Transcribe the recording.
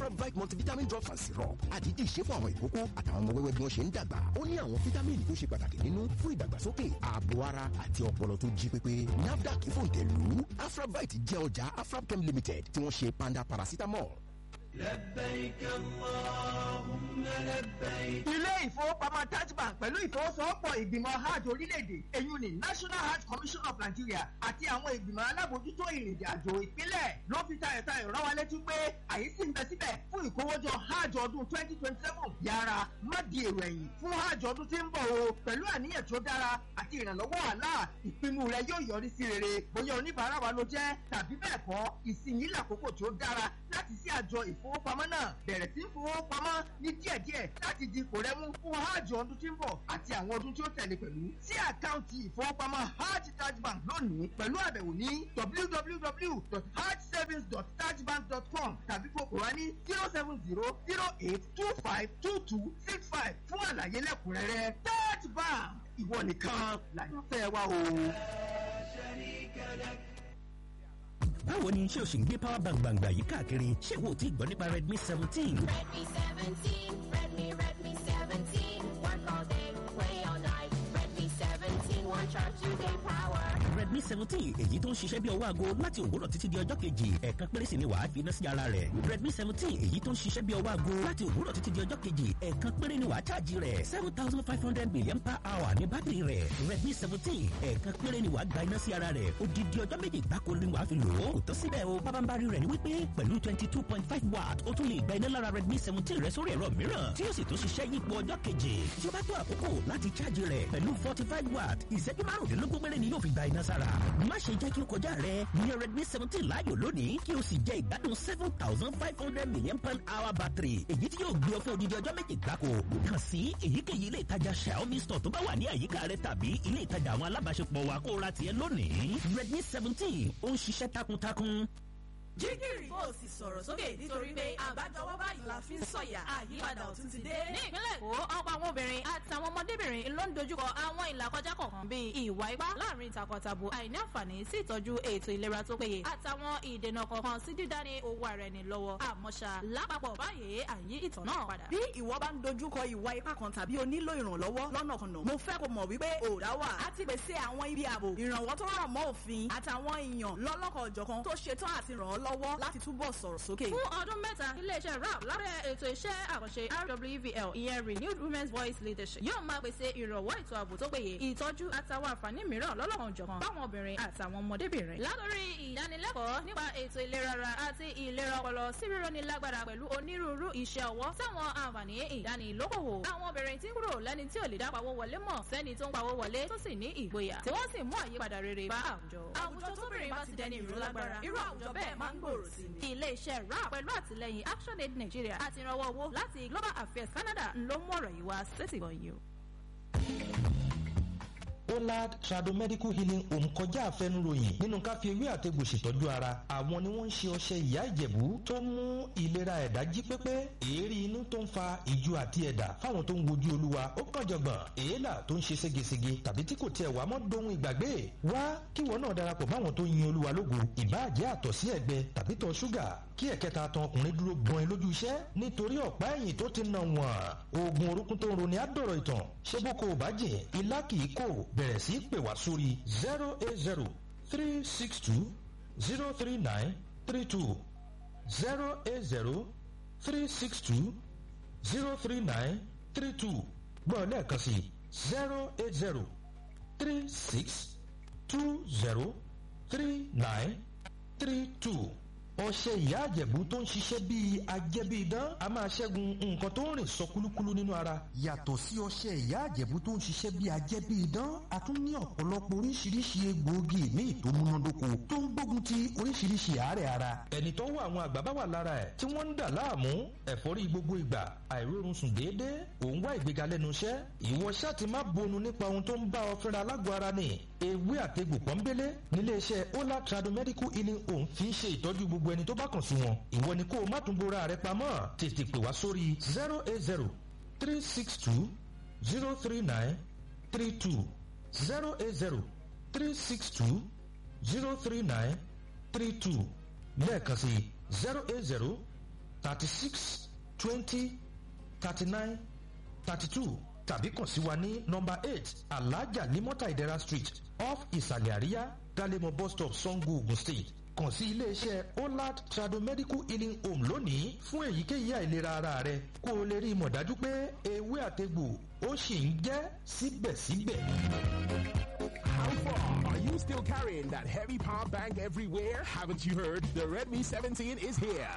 Afrabite multivitamin drops and syrup àdídì ṣe fún àwọn ìkókó àtàwọn ọmọ wẹ́wẹ́ bí wọ́n ṣe ń dàgbà. Ó ní àwọn fítámìnì tó ṣe pàtàkì nínú fún ìdàgbàsókè, ààbò ara àti ọpọlọ tó jí pépé. NAFDAC fòǹtẹ̀lù Afrabite jẹ́ ọjà Afrabchem Limited tí wọ́n ṣe Panda paracetamol. لبيك اللهم لبيك. Ilé ìfowópamọ́ Taj Bank pẹ̀lú ìfowósowọ́pọ̀ ìgbìmọ̀ Hajj orílẹ̀-èdè, èyí ni National Hajj Commission of Nigeria, àti àwọn ìgbìmọ̀ alábòójútó ìrìnàjò àjò ìpínlẹ̀ ló fi tayọ̀tayọ̀ rán wa létí pé àyè sì ń bẹ síbẹ̀ fún ìkówójọ Hajj ọdún 2027. Yára má di èrò ẹ̀yìn fún Hajj ọdún tí ń bọ̀ o. Pẹ̀lú àníyàn tó dára àti ìrànlọ́wọ́ Allah, ìpinnu rẹ yóò yọrí sí rere. Bóyá oníbàárà wa ló jẹ́ tàbí bẹ́ẹ̀ kọ́, ìsinyìí làkókò tó dára láti sí àjọ ìfowópamọ́ náà, bẹ̀rẹ̀ sí í fowópamọ́ ní díẹ̀díẹ̀ láti di ipò rẹ mú fún Hajj ọdún tí ń bọ̀ àti àwọn ọdún tí ó tẹ̀lé pẹ̀lú. Sí àkáǹtì ìfowópamọ́ Hajj Taj Bank lónìí pẹ̀lú àbẹ̀wò ní www.hajjsavings.tajbank.com tàbí kó pè wá ní 07008252265 fún àlàyé lẹ́kùnrẹ́rẹ́. Taj Bank, ìwọ nìkan làyànfẹ́ wa o. شريك لك. Báwo ni? Ṣé o sì ń gbé power bank gbàngbà yìí káàkiri? Ṣé wo ti gbọ́ nípa Redmi 17? Redmi 17, Redmi, Redmi 17. Work all day, play all night. Redmi 17, one charge, 2 day power. Redmi 17, èyí tó ń ṣiṣẹ́ bí ọwọ́ aago láti òwúrọ̀ títí di ọjọ́ kejì, ẹ̀ẹ̀kan péré sì ni wàá fi iná sí ara rẹ̀. Redmi 17, èyí tó ń ṣiṣẹ́ bí ọwọ́ aago láti òwúrọ̀ títí di ọjọ́ kejì, ẹ̀ẹ̀kan péré ni wàá ṣáàjì rẹ̀. 7500 million per hour ní bátìrì rẹ̀. Redmi 17, ẹ̀ẹ̀kan péré ni wàá gba iná sí ara rẹ̀. Odidi ọjọ́ 2 gbáko ni wàá fi lò ó. Kò tó síbẹ̀ o, pábánbárí rẹ̀ ni wípé pẹ̀lú 22.5 watt, ó tún lè gba iná lára Redmi 17 rẹ̀ sórí ẹ̀rọ mìíràn tí yóò sì tún ṣiṣẹ́ yípo ọjọ́ keje. Tí ó bá tó àkókò láti ṣáàjì rẹ̀ pẹ̀lú 45 watt, ìṣẹ́jú 15 péré ni yóò fi gba iná sára. Má ṣe jẹ́ kí ó kọjá rẹ̀. Ní Redmi 17 láàyò lónìí kí o sì jẹ ìgbádùn 7500 million pound hour battery, èyí tí yóò gbé ọ fún odidi ọjọ́ 2 gbáko. Kàn sí èyíkéyìí ilé ìtajà Xiaomi store tó bá wà ní àyíká rẹ tàbí ilé ìtajà àwọn alábàáṣepọ̀ wa kó o ra tiẹ̀ lónìí. Redmi 17, ó ń ṣiṣẹ́ takuntakun. Jígìrì, kó o sì sọ̀rọ̀ sókè nítorí pé àbájọwọ́ báyìí la fi ń sọ̀yà, àyípadà ọ̀tun ti dé. Ní ìpínlẹ̀ Èkó, ọ̀pọ̀ àwọn obìnrin àtàwọn ọmọdébìnrin ló ń dojúkọ àwọn ìlàkọjá kọ̀ọ̀kan bíi ìwà ipá láàrin takọtabo, àìní àǹfààní sí ìtọ́jú ètò ìlera tó péye, àtàwọn ìdènà kọ̀ọ̀kan sí dídání owó ara ẹni lọ́wọ́. Àmọ́ ṣá, lápapọ̀ báyìí, àyí ìtàn náà padà. Bí ìwọ bá ń dojúkọ ìwà ipá kan tàbí o nílò ìrànlọ́wọ́ lọ́nàkọnà, mo fẹ́ kó mọ̀ wípé òòdà wà á ti pèsè àwọn ibi ààbò, ìrànwọ́ tó rọ̀ mọ́ òfin àtàwọn èèyàn lọ́lọ́kan-ò-jọ̀kan tó ṣetán àti ràn ọ́ lọ́wọ́ láti túbọ̀ sọ̀rọ̀ sókè. Fún ọdún 3, iléeṣẹ́ RAP lábẹ́ ètò iṣẹ́ àkànṣe RWVL, ìyẹn Renewed Women's Voice Leadership, yóò máa pèsè ìrànwọ́ ètò ààbò tó péye, ìtọ́jú àtàwọn àǹfààní mìíràn lọ́lọ́kan-ò-jọ̀kan fáwọn obìnrin àtàwọn ọmọdébìnrin. Látòrí ìdánilẹ́kọ̀ọ́ nípa ètò ìlera ara àti ìlera ọpọlọ sí rírọ́ni lágbára pẹ̀lú onírúurú iṣẹ́ ọwọ́ sáwọn àǹfààní ìdánilókòwò. Àwọn obìnrin tí ń kúrò lẹ́ni tí ò lè dá pawó wọlé mọ̀ sẹ́ni tó ń pawó wọlé tó sì ní ìgboyà tí wọ́n sì mú àyípadà rere bá àwùjọ. Àwùjọ tóbìnrin bá ti dẹni ìró lágbára, irú àwùjọ bẹ́ẹ̀ máa ń gbòòrò sí ni. Ilé-iṣẹ́ RAP pẹ̀lú àtìlẹ́yìn ActionAid Nigeria àti ìrànwọ́ owó láti Global Affairs Canada ló mú ọ̀rọ̀ yìí wá sétìgbọ̀n yìí o. Olad Tradomedical Healing Home kọjá àfẹnuròyìn nínú ká fi ewé àtegbò ṣètọ́jú ara. Àwọn ni wọ́n ń ṣe ọṣẹ ìyá ìjẹ̀bú tó ń mú ìlera ẹ̀dá jí pépé, èérí inú tó ń fa ìju àti ẹ̀dà fáwọn tó ń wojú olúwa ó kàn jọ̀gbọ̀n, èélà tó ń ṣe ségesège tàbí tí kò tiẹ̀ wá mọ́ dohun ìgbàgbé. Wá kíwọ náà darapọ̀ máwọn tó yin olúwa lógo, ìbáàjẹ́ àtọ̀ sí ẹ̀gbẹ tàbí tọ̀ ṣúgà, kí ẹ̀kẹta tan ọkùnrin dúró gbọ́n lójú iṣẹ́ nítorí ọ̀pá ẹ̀yìn tó ti nà wọ́n, oògùn orúkún tó ń roni á dọ̀rọ̀ ìtàn. Ṣé bó ko ò bá jìn ilá kì í kò. Bẹ̀rẹ̀ sí pè wá sórí 08036203932, 08036203932. Gbọ́ lẹ́ẹ̀kan sí 08036203932. Ọṣẹ ìyá àjẹ̀bú tó ń ṣiṣẹ́ bíi ajẹ́bíidán a máa ṣẹ́gun nǹkan tó ń rìn sọ kúlúkúlú nínú ara. Yàtọ̀ sí ọṣẹ ìyá àjẹ̀bú tó ń ṣiṣẹ́ bíi ajẹ́bíidán, a tún ní ọ̀pọ̀lọpọ̀ oríṣiríṣi egbòogi míì tó múnádóko tó ń gbógun ti oríṣiríṣi àárẹ̀ ara. Ẹni tó wọ àwọn àgbà bá wà lára ẹ̀ tí wọ́n ń dà láàmú, ẹ̀fọ́rí gbogbo ìgbà, àìrórun sùn déédéé, òun wá ìgbéga lẹ́nu iṣẹ́, ìwọ ṣáà ti má bonu nípa ohun tó ń bá ọ fínra lágọ̀ọ́ ara ni. Ewé àtegbò pọ́nbélé níléeṣẹ́ Ola Tradomedical Healing Home fi ń ṣe ìtọ́jú gbogbo ẹni tó bá kàn sí wọn. Ìwọ ni kó o má tún bora rẹ pamọ́, tètè pè wá sórí 08036203932, 08036203932. Lẹ́ẹ̀kan sí 080 36 20 39 32 tàbí kàn sí wa ní nọ́mbà 8 Alhaja Limota Idera Street, off Ìsàlẹ̀ Àríyá, Dalemo bus stop, Sango, Ogun State. Kàn sí iléeṣẹ́ Olad Tradomedical Healing Home lónìí fún èyíkéyìí àìlera ara rẹ, kó o lè rí i mọ̀ dájú pé ewé àtegbò ó sì ń jẹ́ síbẹ̀síbẹ̀. How far? Are you still carrying that heavy power bank everywhere? Haven't you heard? The Redmi 17 is here.